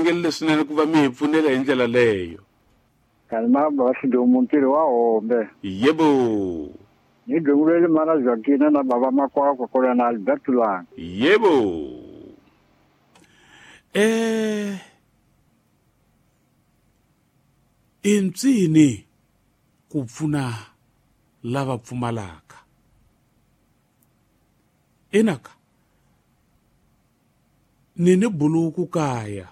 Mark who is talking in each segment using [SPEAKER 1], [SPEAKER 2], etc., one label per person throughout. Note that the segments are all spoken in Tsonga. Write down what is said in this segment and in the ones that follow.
[SPEAKER 1] tlangelile swinene ku va mi hi pfunela hi ndlela leyo.
[SPEAKER 2] Kalima basi ntirho wa hombe.
[SPEAKER 1] Yebo.
[SPEAKER 2] Ni dungulele mana Joaquina na baba makwakwa kola na Alberto Langa.
[SPEAKER 1] Yebo. Intsini ku pfuna lava pfumalaka. Inaka. Ni buluku kaya.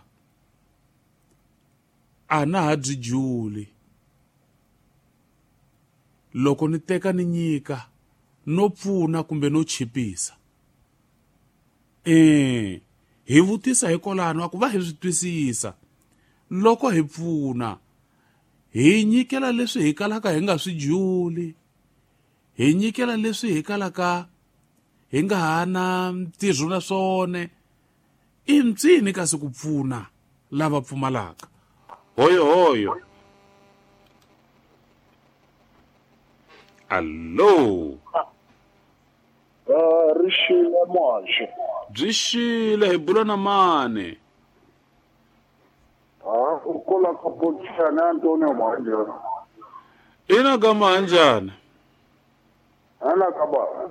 [SPEAKER 1] Ana ha byi juli. Loko ni teka ni nyika no pfuna kumbe no chipisa. Hi vutisa hikwalano ku va hi swi twisisa. Loko hi pfuna hi nyikela leswi hi kalaka hi nga swi juli. Hi nyikela leswi hi kalaka hi nga ha na ntirho na swona. I ntsini kasi ku pfuna lava pfumalaka. Hoyo hoyo. Allo.
[SPEAKER 3] Rixile muhaxi.
[SPEAKER 1] Byi xile hi bula na mani.
[SPEAKER 3] U kula ka Potsana Antonio Mahanjana.
[SPEAKER 1] Ina ka Mahanjana.
[SPEAKER 3] Ana ka ba.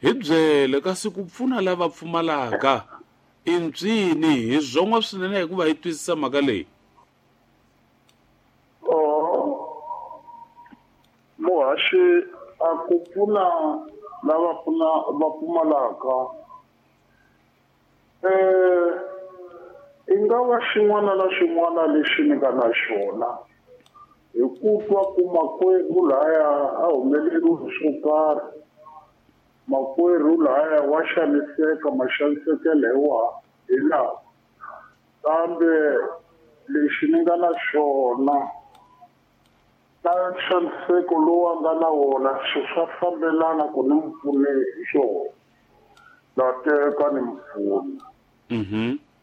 [SPEAKER 1] Hi byele kasi ku pfuna lava pfumalaka i ntsini hi zwon'wa swinene hikuva hi twisisa mhaka leyi.
[SPEAKER 3] Muhaxi a ku pfuna lava pfuna va pfumalaka i nga va xin'wana na xin'wana lexi ni nga na xona hi ku twa ku makwerhu laya a humeleriwe hi swo karhi, makwerhu laya wa xaniseka maxanisekelo hi wa hi lawa, kambe lexi ni nga na xona na nxaniseko lowu a nga na wona swi swa fambelana ku ni n'wi pfune hi xona, na teka ni n'wi pfuna.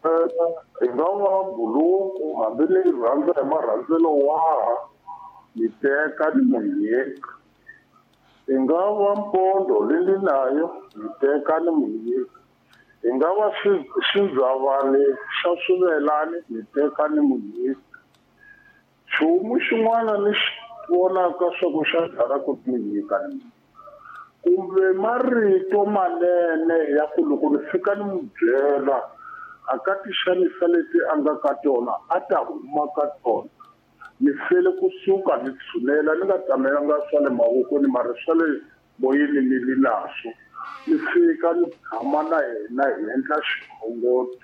[SPEAKER 3] Hi nga va buluku hambi ni rhandza hi marhandzelo waha ni teka ni n'wi nyika. Hi nga va mpondo leyi ni nayo ni teka ni n'wi nyika. Hi nga va xindzavane xa swivelani ni teka ni n'wi nyika. Nchumu xin'wana ni xi vonaka swa ku xa dlala ku ni nyika ni nyika. Kumbe marito manene ya ku loko ni fika ni n'wi byela a ka tixanisa leti a nga ka tona a ta huma ka tona. Ni fele kusuka ni tshunela ni nga tamelanga swa le mavokweni mara swa le moyeni ni li naswo. Ni fika ni tshama na yena hi endla xikhongelo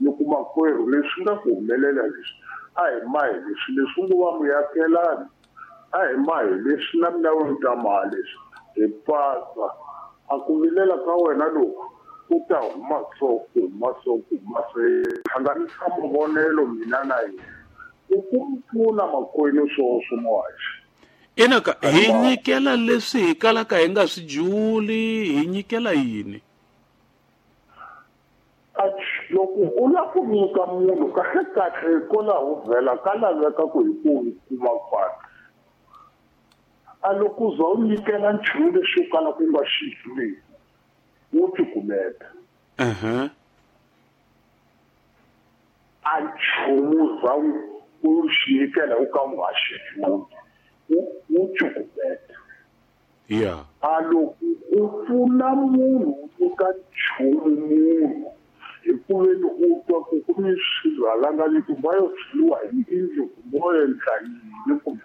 [SPEAKER 3] ni ku makwerhu leswi nga ku humelela leswi a hi mahi leswi leswi ngo va muakelani a hi mahi leswi na mina u ta maha leswi hi pasa a ku vilela ka wena loku ku ta huma so ku huma so ku huma so hlanganisa mavonelo mina na yena u ku pfuna makwenu swoswo muhaxi.
[SPEAKER 1] Inaka hi nyikela leswi hi kalaka hi nga swi juli hi nyikela yini?
[SPEAKER 3] Loko u lava ku nyika munhu kahle kahle hikwalaho vhela ka laveka ku hi ku kuma kwani. A loko u za u nyikela nchumu lexi u kalaka u nga xi juliki wo tikumeta. A nchumu za u xi nyikela u ka u nga xi juli wu tikumeta. A loko u pfuna munhu u nyika nchumu munhu hi ku veni u twa ku ku ni swirhalanganya kumbe va yo tshweriwa hi yindlu kumbe wo endla yini kumbe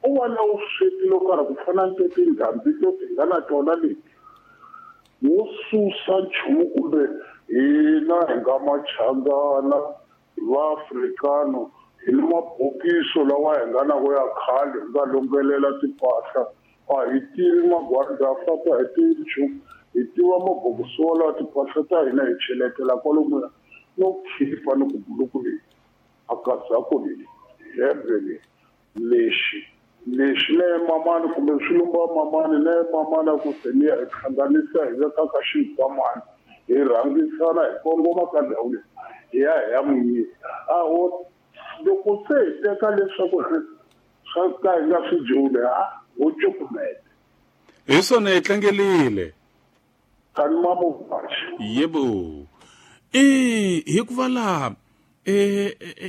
[SPEAKER 3] u va na vusweti lo karhi ku fana ni tindhambi to ti nga na tona leti wo susa nchumu kumbe hina hi nga machangana hi vaafrikano hi ni mabokiso lawa hi nga na wo ya khale hi nga longelela timpahla a hi tivi magwanda faka hi tivi nchumu hi tiva mabokisi walawa timpahla ta hina hi cheletela kwalomuya no khipa ni ku buluku leyi a kazako leyi hembe leyi lexi lexi na mamani kumbe swi lumba mamani na mamani a ku se ni ya hi hlanganisa hi veka ka xikwamani hi rhangisana hi kongoma ka ndhawu leyi hi ya hi ya n'wi nyika. A ho loko se hi teka leswaku swa ka hi nga swi juli ha ho cukumeta.
[SPEAKER 1] Hi swona hi tlangelile.
[SPEAKER 3] Kani mamuhaxi.
[SPEAKER 1] Yebo. Hikuva laha